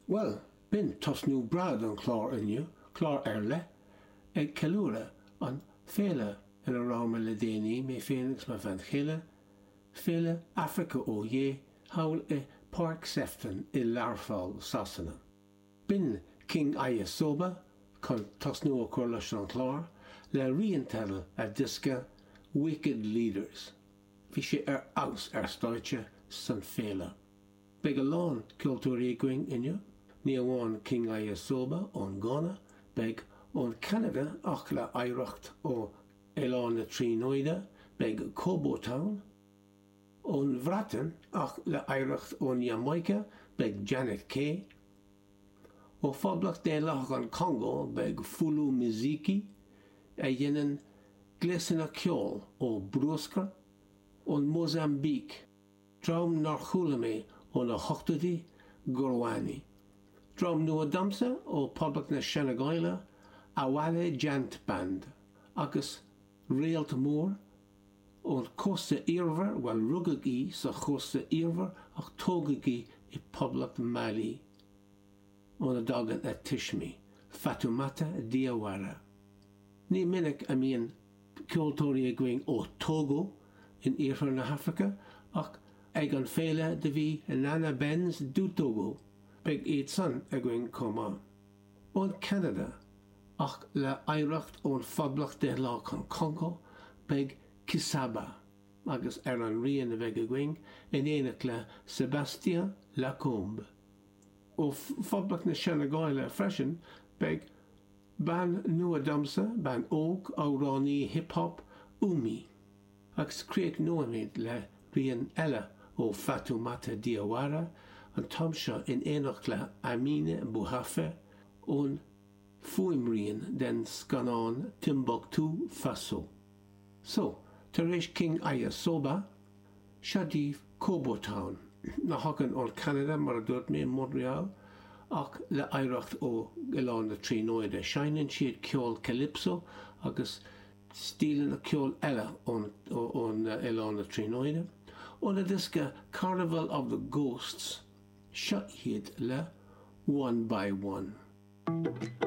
Bhuel, b'in tosnú breá don chlár inniu, clár ar leith, ag ceiliúradh an féile ina rabhamar le déanaí, mé féin agus mo bhean chéile, Féile Africa Ó Yeah thall i Páirc Sefton i Learpholl, Sasana. B'in King Ayisoba chun tosnú a chur leis an chlár, le rian teidil a diosca Wicked Leaders. Bhí sé ar fheabhas ar stáitse san féile. Beidh a lán ceoltóirí againn inniu, ní amháin King Ayisoba ón Gána, beidh ón Cheanada ach le hoidhreacht ó Oileán na Tríonóide, beidh Kobo Town, ón Bhreatain ach le hoidhreacht ón Iamáice, beidh Janet Kay, ó Phoblacht Daonlathach an Chongó, beidh Fulu Miziki, a dhéanann gléasanna ceoil ó bhruascar, ón Mósaimbíc. Dream nár chuala mé ó na hochtóidí, Gurwani. Dream nua domsa ó Poblacht na Seineagáile, Awale Djant Band. Agus réalt mór ón chósta iarmhar, bhuel rugadh í sa chósta iarmhar ach tógadh í i Poblacht Mali óna dtagann a tuismí, Fatoumata Diawara. Ní minic a mbíonn ceoltóirí againn ó Togo in iarthar na hAfraice ach ag an féile do bhí Nana Benz du Togo, beidh iad san againn chomh maith. Ón Cheanada ach le hoidhreacht ón Phoblacht Daonlathach an Chongó beidh Kisaba agus ar an rian a bheidh againn in éineacht le Sébastien Lacombe. Ó Phoblacht na Seineagáile freisin beidh Bean nua domsa, bean óg, amhránaí hip hop, Oumi. Agus críochnóimid le rian eile ó Fatoumata Diawara, an t-am seo in éineacht le Amine Bouhafa ón fuaimrian den scannán Timbuktu Faso. So, tar éis King Ayisoba, Seo daoibh Kobo Town, a thagann ón Cheanada, mar a dúirt mé, Montreal, ach le hoidhreacht ó Oileán na Tríonóide. Seinneann siad ceol calypso agus stíleanna ceoil eile ón Oileán na Tríonóide. Óna diosca Carnival of the Ghosts, seo iad le One by One.